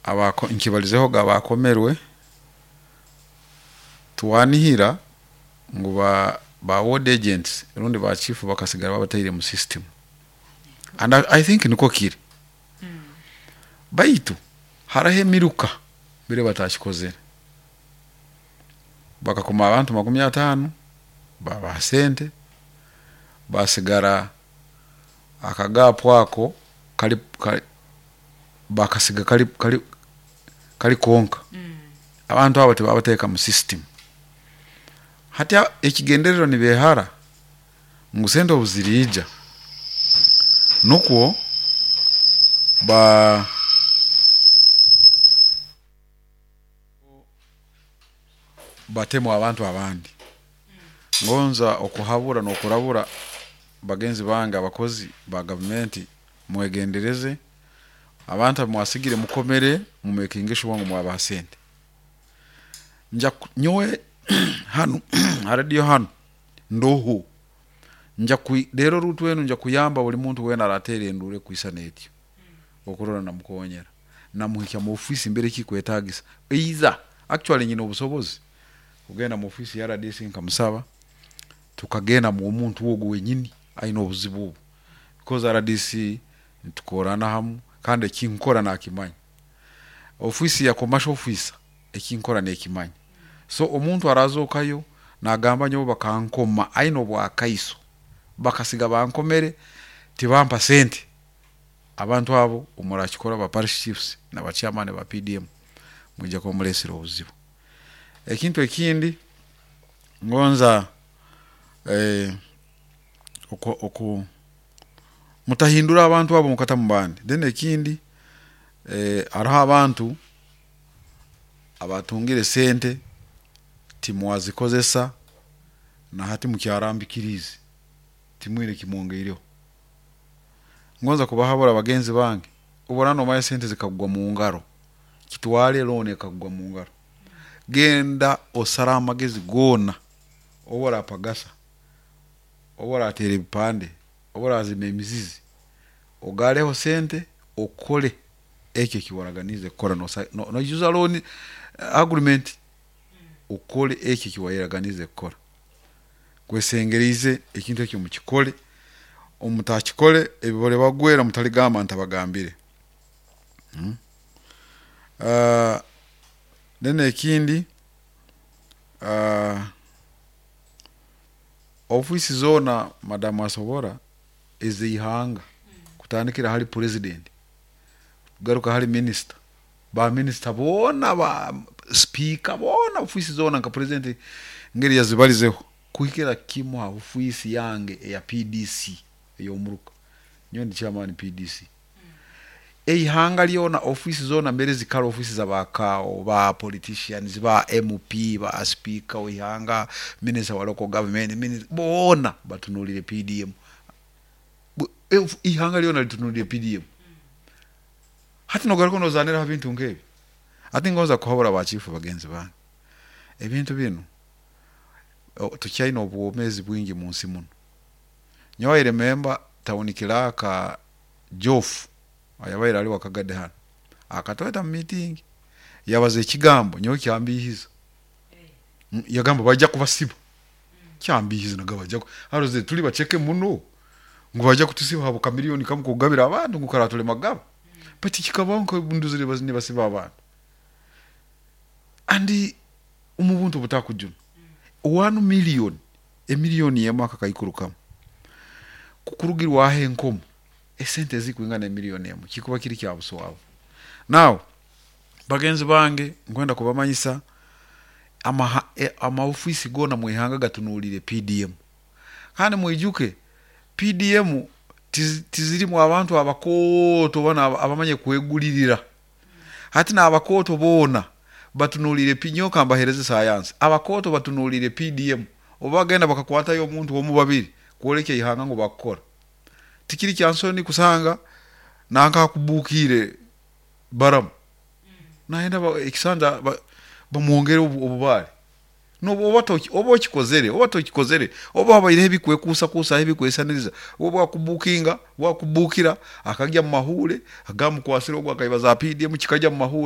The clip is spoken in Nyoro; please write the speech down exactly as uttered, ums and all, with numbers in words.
Abako nkibalizehoga abakomerwe twanihira ngu ba, ba ward agents rundi ba chief bakasigara babataire mu system and I, I think nikwo kiri baitu haraho emiruka mbere batakikozere bakakoma abantu makumi ataano babaha sente basigara akagapu ako kali, kali bakasiga kali, kali, kali konka abantu abo tibabateeka mu system hati ekigendererwa nibehara ngu sente obu ziriija nukwo ba batemu abantu abandi ngonza okuhabura n'okurabura bagenzi bange abakozi ba gavumenti mwegendereze abantu abu mwasigire mukomere mumekinge sure ngu mwabaha sente nja nyowe hanu ha radio hanu ndoho nja rero ruutu enu nja kuyamba buli muntu weena arateera enduuru ekwisana etyo okurora namukonyera namuhikya mu ofiisi mbere kikwetagisa either actually nyine obusobozi kugenda mu ofiisi ya R D C nkamusaba tukagenda mw'omuntu ogu wenyini aine obuzibu obu because R D C nitukorrana hamu kandi ekinkora nakimanya, ofiisi ya commercial officer ekinkora nekimanya. So omuntu arazookayo nagamba nyowe bakankoma aine obwakaiso bakasiga bankomere tibampa sente, abantu abo omurakikora ba parish chiefs na ba chairman ba P D M mwija kuba mulesere obuzibu. Ekintu ekindi ngonza eh, oku, oku mutahindura abantu abo mukatamu bandi. Then ekindi eh, haroho abantu abatungire sente timwazikozesa na hati mukyarambikiriize timwine ekimwongeireho. Ngonza kubahabura bagenzi bange, obu oraaba nomanya sente zikakugwa mu ngaro, kitwale loan ekakugwa mu ngaro, genda osare amagezi goona obu orapagasa, obu orateera ebipande, obu orazima emizizi, ogareho sente okole eki ekiwaraganiize kukora noijuza loan agreement okole eki ekiwaraganiize kukora. Nkwesengeriize ekintu eki mukikole, obu mutakikole ebi biribagwera mutaligamba ntabagambire. Uh, then ekindi uh, ofiisi zoona madamu asobora ez'ihanga kutandikira hali president kugaruka hali minisita, ba minisita boona, ba speaker boona, ofiisi zoona nka president ngeri yazibalizeho kuhikira kimu ha ofiisi yange eya P D C ey'omuruka, nyowe ndi chairman P D C. Eihanga lyona ofiisi zoona mbere zikara ofiisi z'abakao ba politicians, ba M P, ba speaker w'ihanga, minister wa local government, minister, boona batunulire P D M. Ihanga lyona litunulire P D M. Hati nogaruka nozanira ha bintu nk'ebi. Hati ngonza kuhabura ba chief bagenzi bange, ebintu binu tukyaine obwomeezi bwingi mu nsi munu. Nyowe I remember town clerk Joff ayabaire ali Wakagadi hanu akatweta mu meeting yabaza ekigambo nyowe kyambiihiza, yagamba bajja kubasiba. Kyambiihiza, nagamba bajja haroze tuli baceke muno ngu bajja kutusiba habwa kamiliyoni kamu kugabira abantu ngu karatulema kugaba, baitu kikabaho ndozere nibasiba abantu andi omu buntu obutakujuna one million, emiliyoni emu akakaikuru kamu kukurugirwaho enkomo esente ezikwingana emiliyoni emu kikuba kiri kya buswavu. Now bagenzi bange nkwenda kubamanyisa amaha, amaofiisi goona mwihanga gatunulire P D M, kandi mwijuke P D M tizirimu abantu abakooto banu abamanyire kwegulirira. Hati n'abakooto boona batunulire, nyowe kambahereze sayansi, abakooto batunulire P D M obu bagenda bakakwatayo omuntu omu babiri kwoleka ihanga ngu bakukora. Tikiri kyansoni kusanga nanka akubukiire baramu nayenda ekisanja bamwongere obubaare oba okikozere oba tokikozere oba habaireho ebikwekuusakuusaho ebikwesisaniriza, obu akubukinga obu akubukira akagya mu mahuure agamba mukwasire ogu akaiba za P D M kikagya mu mahuure.